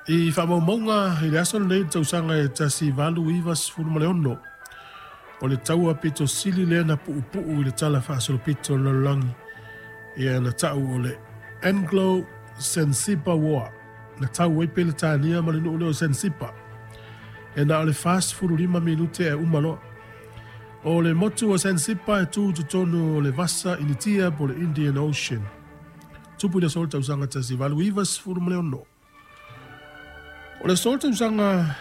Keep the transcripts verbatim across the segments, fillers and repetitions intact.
I faamaumauga i le aso lenei le tausaga e tasi valu iva sefulu ma le ono, o le taua pito sili lea na puupuu i le tala faasolopito o le lalolagi, ia na tau o le Anglo Sensiba War, na tau ai Peretania ma le nuu lea o Sensiba, e na o le fasefulu lima minute e uma loa. O le motu o Sensiba e tu i totonu o le Vasa Initia po o le Indian Ocean. Tupu i le aso le tausaga tasi valu iva sefulu ma le ono. O le aso le tausaga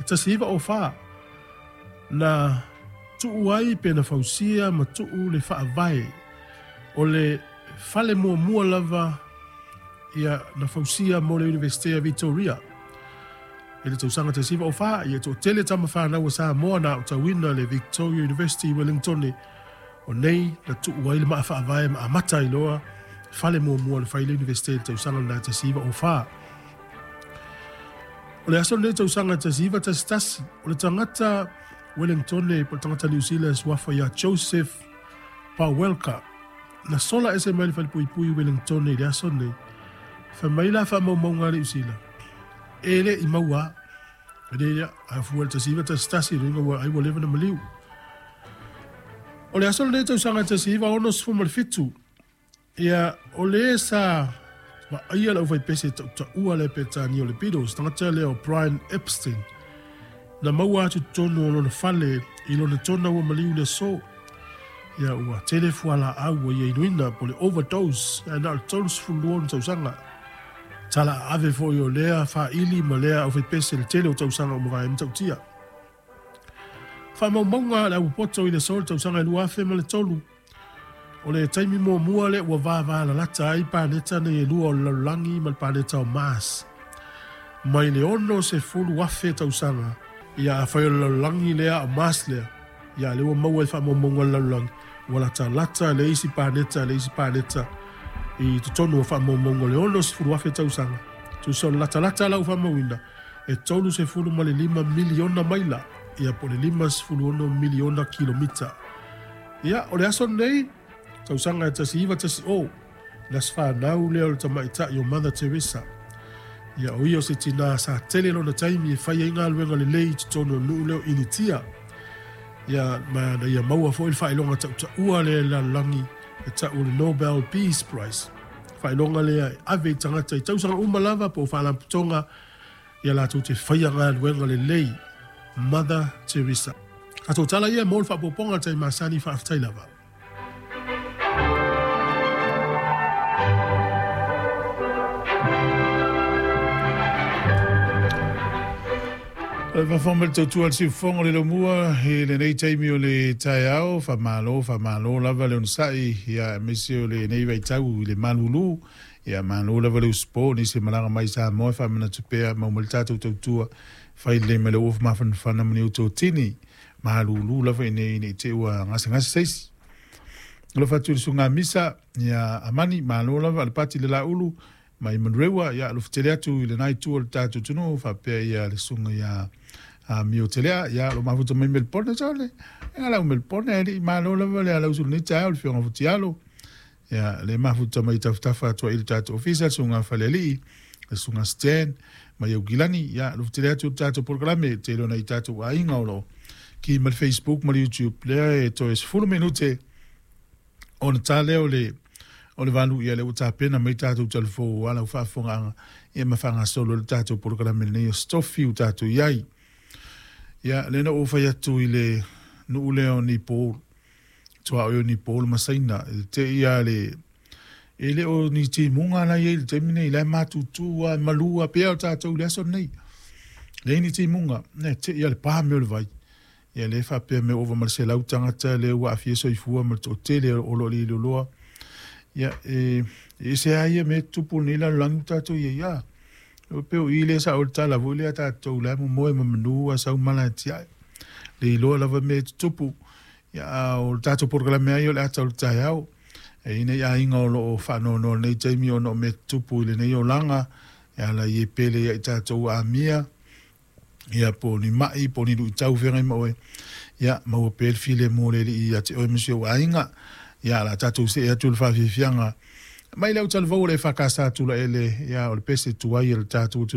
tasi iva o fa, na tuu ai pe na fausia ma tuu le faavae o le fale muamua lava ia na fausia mo le Universite a Victoria. I le tausaga tasi iva o fa, ia toatele tama fanau a Samoa na aotauina le Victoria University i Wellington, o nei na tuu ai le maafaavae ma amata ai loa fale muamua le fai le Universite i le tausaga lena tasi iva o fa. O le aso lenei tausaga tasi iva tasi tasi, o le tagata Wellington po o le tagata New Zealand suafa ia Joseph Pawelka, na sola ese mai le falepuipui Wellington i le aso lenei. Fai mai la faamaumauga a Niu Sila, e le i maua e le ia a fua le tasi iva tasi tasi luga ua ai ua leva na maliu. O le aso lenei tausaga tasi iva ono sefulu ma le fitu, ia o le sa vaaia le aufaipese tautaua le Peretania o le Beatles, tagata lea o Brian Epstein, na maua atu totonu o lona fale i lona tona ua maliu le aso. Ia ua tele fualaau ua ia inuina po o le overdose, ae na o le tolu sefulu lua ona tausaga. Tala ave foi o lea faili ma lea aufaipese le tele o tausaga o mavae matautia. Faamaumauga le aupopoto i le aso le tausaga e lua afe ma le tolu, o le taimi muamua lea ua vavalalata ai paneta nei e lua o le lalolagi ma le paneta o Mars. Mai le ono sefulu afe tausaga, ia afai o le lalolagi lea o Mars lea, ia le ua maua i faamaumauga le lalolagi, ua latalata le isi paneta le isi paneta i totonu o faamaumauga o le ono sefulu afe tausaga. Tusa o le latalata lau faamauina, e tolu sefulu ma le lima miliona maila, ia po o le lima sefulu ono miliona kilomita. Ia, o le aso lenei, tausaga e tasi iva tasi o, na se whanau lea o le tamaitai o Mother Teresa. Ia o ia o se tina sa tele lona taimi e fai ai galuega lelei i totonu o nuu lea o Initia. Ia ma na ia maua foi le faailoga tautaua lea i le lalolagi e tau o le Nobel Peace Prize. Faailoga lea e ave i tagata i tausaga uma lava po o faalapotopotoga ia latou te faia galuega lelei. Mother Teresa. Tatou tala ia mo le faapopoga le taimi masani, faafetai lava. O le faafofoga ma le tautua a le siufofoga o le lomua i lenei taimi o le taeao, faamalo, faamalo lava le onosai, ia aemaise o lenei vaitau i le malulu, ia malo lava le usupo, nisi malaga mai Samoa, faamanatu pea mau ma le tatou tautua, fai lelei mai le uafu mafanafana ma ni outou tini, malulu lava ina nei te ua gasegase seisi. Alofa atu i le susuga Misa, ia Amani, malo lava le pati le laulu, mai Manurewa, ia alofa tele atu i lenai itu o le tatou atunuu, faapea ia le susuga ia Mio Telea, ia lo mafuta mai Melbourne sale, e ngala Melbourne e li malo lava le ala usu nei tae o le fionga futialo, ia le mafuta mai tafatafa atu i le tatou ofisa, le susuga Falealii, le susuga Stan, mai Aukilani, ia alofa tele atu i le tatou polokalame, tele ona i tatou aiga o lo ki ma le Facebook ma le YouTube, lea e toe sefulu minute ona ta lea o le o le valu ia le ua tapena mai tatou talafou ala o faafofogaaga ia ma faagasolo le tatou polokalame lenei o Stofi ua tatou i ai. Ia lea na ou fai atu i le nuu lea o Nepal, tuaoi o Nepal ma Saina, e te ia le e le o ni timuga la i ai i le taimi nei, la e matutu a malua pea o tatou i le aso lenei. Leai ni timuga, e te ia le pa mea o le vai. Ia le faapea mea ova ma le selau tagata lea ua aafia soifua ma le toatele o lo o liiloloa. Ia, e, e ese lava ia mea e tutupu nei lalolagi ua tatou i ai a. O pe o i le sa o le tala foi lea tatou la momoe ma manu a sau mala e tiai. Le iloa lava mea e tutupu. Ia, a o le tatou polokalame ai o le ata o le taeao. E ina i aiga o loo faanoanoa lenei taimi ona o mea tutupu i lenei olaga. E ala i e pele ia i tatou amia. Ia po ni mai, po ni luitau feagai ma oe. Ia, maua pea le filemu o le Alii ia te oe ma si ou aiga. Ia, la tatou see atu le faafiafiaga mai le au talavou o le E F K S Tulaele, ia o le pese tuai o le tatou atunuu.